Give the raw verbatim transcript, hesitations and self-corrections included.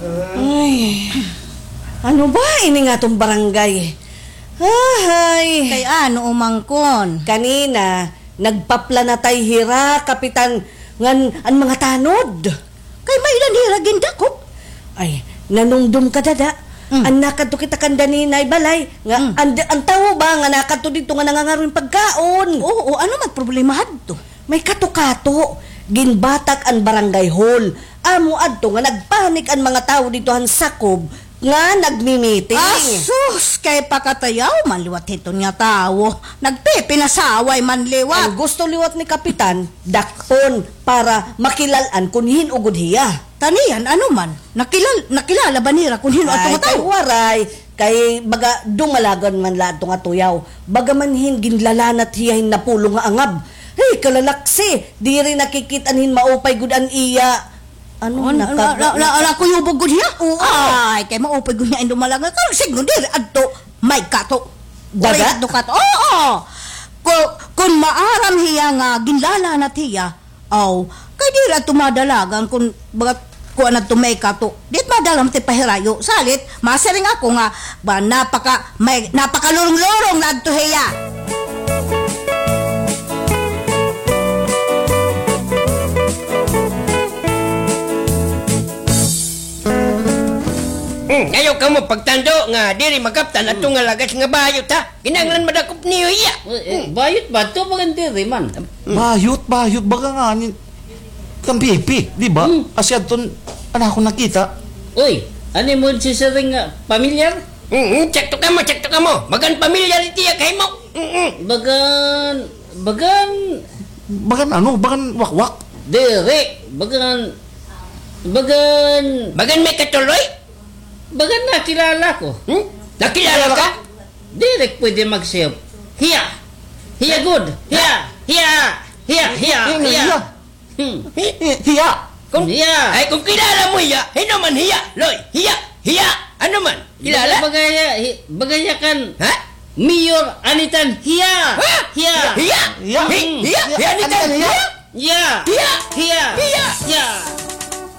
Ay, ano ba ini nga aton barangay? Ahay. Kay ano, umangkon? Kanina, nagpaplanatay hira, Kapitan, ngan an mga tanod. Kay may-ada hira gindakop. Ay, nanumdom ka, dada. Mm. An nakadto kita kan Daninay balay, nga Mm. an, an tawo ba nga nakadto didto nga nangangaro hin pagkaon? Oo, ano man problema hadto? May kato-kato, ginbatak an barangay hall. Amo adto nga nagpanik an mga tawo didto han sakob nga nagmi-meeting. Asus, kay pakatayaw man liwat hiton nga tawo. Nagpipinasaway man liwat. An gusto liwat ni Kapitan, dakpon para makilal-an kon hin-o gud hiya. Taniyan, ano man? Nakilal-, nakilala ba nira kon hin-o adto nga tawo? Ay, kay waray. Kay baga dumalagan man la adto nga tuyaw. Baga man hin ginlalanat hiya hin napulong nga angab. Hey, kalalaksi, diri nakikit-an hin maupay gud an iya. Ano, An-, naka-, na-, na-, na-, naka- nakuyubog gud hiya? Oo. Ay, kay maupay gud hiya hin dumalagan. Kay sidngon diri adto, may kato. Daga? Uray adto kato. Oo. Ku-, kun maaram hiya nga ginlalanat hiya, Aw, kay diri adto madalagan kun baga kuan adto may kato. Di it madala man it pahirayo. Salit, masiring ako nga, ba, napaka, may, napakalurong-lurong na adto hiya. Hmm, ayaw kamo pagtando nga diri makaptan ato nga lagas nga bayot, ha? Kinahanglan madakop niyo hiya. Eh, eh, Hmm. bayot ba? Ito bagan diri man. Bayot, bayot. Baga nga ni kan Pipi, di ba? Hmm. Asya ton, an akon nakita. Uy, ano mo si Sering nga pamilyar? Hmm, hmm, sakto kamo, sakto kamo. Bagan pamilyar iti iya kahimo. Hmm, hmm. Bagan, bagan. Bagan ano? Bagan wakwak? Diri, bagan, bagan. Bagan may katuloy? Bagan nakilala ko. Hmm? Nakilala ka? Diri pwede mag-save. Hiya. Hiya gud. Hiya. Hiya. Hiya. Hiya. Hiya. Hiya. Hmm. Hi-, hi-, hiya. Kung, Hiya. Ay, kung kilala mo hiya, hin-o man hiya, Loy. Hiya. Hiya. Ano man? Kilala? Bagay, bagay, hi-, bagay kan Ha? Mayor Anitan. Hiya. Ha? Hiya. Hiya? Hiya. Hi-, Hmm. hiya? Hiya, Anitan, Anitan, hiya? hiya. Hiya. Hiya. Hiya. Hiya. Hiya.